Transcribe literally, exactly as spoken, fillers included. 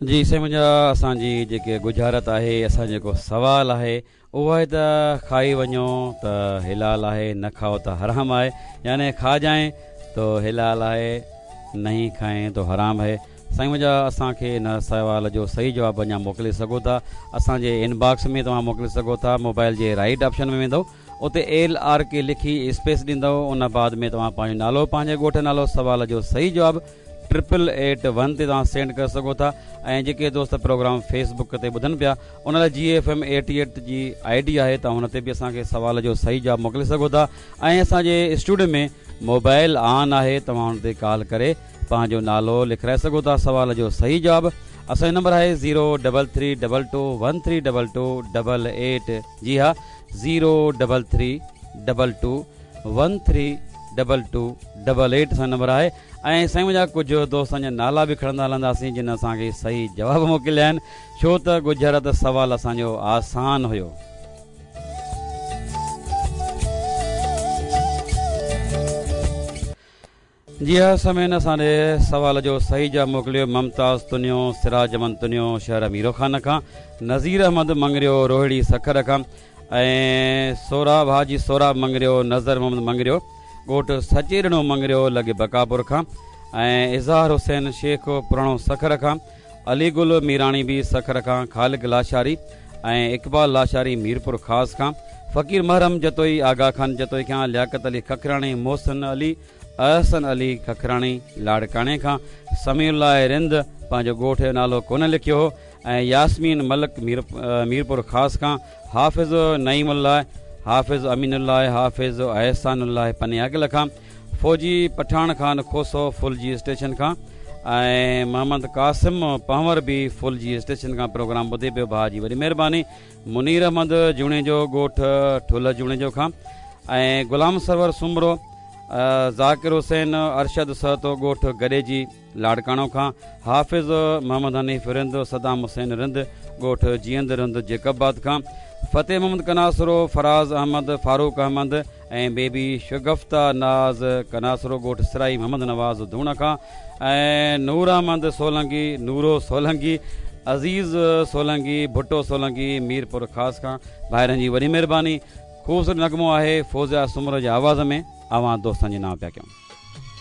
جي سائين منهنجا، اسان جي جيڪي ڳجهارت آهي، اسان جيڪو سوال آهي اهو آهي ته کائي وڃو ته حلال آهي، نه کائو ته حرام آهي. يعني کاجائين تو حلال آهي، نہیں کائين تو حرام آهي. سائين منهنجا، اسان کي ان سوال جو صحيح جواب اڃا موڪلي سگهو ٿا. اسان جي انباڪس ۾ توهان موڪلي سگهو ٿا. موبائل جي رائيٽ آپشن ۾ ويندو، اتي ايل آر ڪي لکي اسپيس ڏيندو، ان بعد ۾ توهان پنهنجو نالو، پنهنجي ڳوٺ نالو، سوال جو صحيح جواب ٽرپل ايٽ ون تي توهان سينڊ ڪري سگهو ٿا. ۽ جيڪي دوست پروگرام فيس بڪ تي ٻڌن پيا، ان لاء جي ايف ايم ايٽي ايٽ جي I D آهي، توهان هن تي به اسان کي سوال جو صحيح جواب موڪلي سگهو ٿا. ۽ اسان جي اسٽوڊيو ۾ موبائل آن آهي، توهان هن تي ڪال ڪري پنهنجو نالو لکرائي سگهو ٿا، سوال جو صحيح جواب. اسان جو نمبر آهي zero double three double two one three double two double eight. جي ها، zero double three double two one three double two double eight اسان جو نمبر آهي. ۽ سائين منهنجا، ڪجهه دوستن جا نالا به کڻندا هلنداسين جن اسان کي صحيح جواب موڪليا آهن، ڇو ته ڳجهارت سوال اسان جو آسان هيو. جي ها سامعين، اسان ڏي سوال جو صحيح جواب موڪليو ممتاز تنيو، سراج احمد تنيو شهر ميرو خان کان، نذير احمد مڱريو روهڙي سکر کان، ۽ سوراب حاجي سوراب مڱريو، نظر محمد مڱريو ڳوٺ سچيڏنو مڱريو لڳ بڪاپور کان، ۽ اظهار حسين شيخ پراڻو سکر کان، علي گل ميراڻي به سکر کان، خالق لاشاري ۽ اقبال لاشاري ميرپور خاص کان، فقير محرم جتوئي آغا خان جتوئي کان، لياقت علي ککراڻي، محسن علي، احسن علي ککراڻي لاڙڪاڻي کان، سميع الله رند پنهنجو ڳوٺ جو نالو ڪونه لکيو هو، ۽ ياسمين ملڪ ميرپور خاص کان، حافظ نعيم الله، حافظ امين الله، حافظ احسان الله پنياگل کان، فوجي پٺاڻ خان کوسو ڦلجي اسٽيشن کان، ۽ محمد قاسم پنهور به ڦلجي اسٽيشن کان پروگرام ٻڌي پيو. ڀاء جي وڏي مهرباني. منير احمد جوڻيجو ڳوٺ ٺلهه جوڻيجو کان، ۽ غلام سرور سومرو، ذاڪر حسين، ارشد سهتو ڳوٺ گڏيجي لاڙڪاڻو کان، حافظ محمد حنيف رند، صدام حسين رند ڳوٺ جيئند رند جيڪب آباد کان، فتح محمد ڪناسرو، فراز احمد، فاروق احمد ۽ بيبي شگفته ناز ڪناسرو ڳوٺ سرائي محمد نواز ڌوڻ کان، ۽ نور احمد سولنگي، نورو سولنگي، عزيز سولنگي، ڀٽو سولنگي ميرپور خاص کان. ڀائرن جي وڏي مهرباني. خوبصورت نغمو آهي فوزيا سومرو جي آواز ۾ اوهان دوستن جي نانء پيا ڪيون.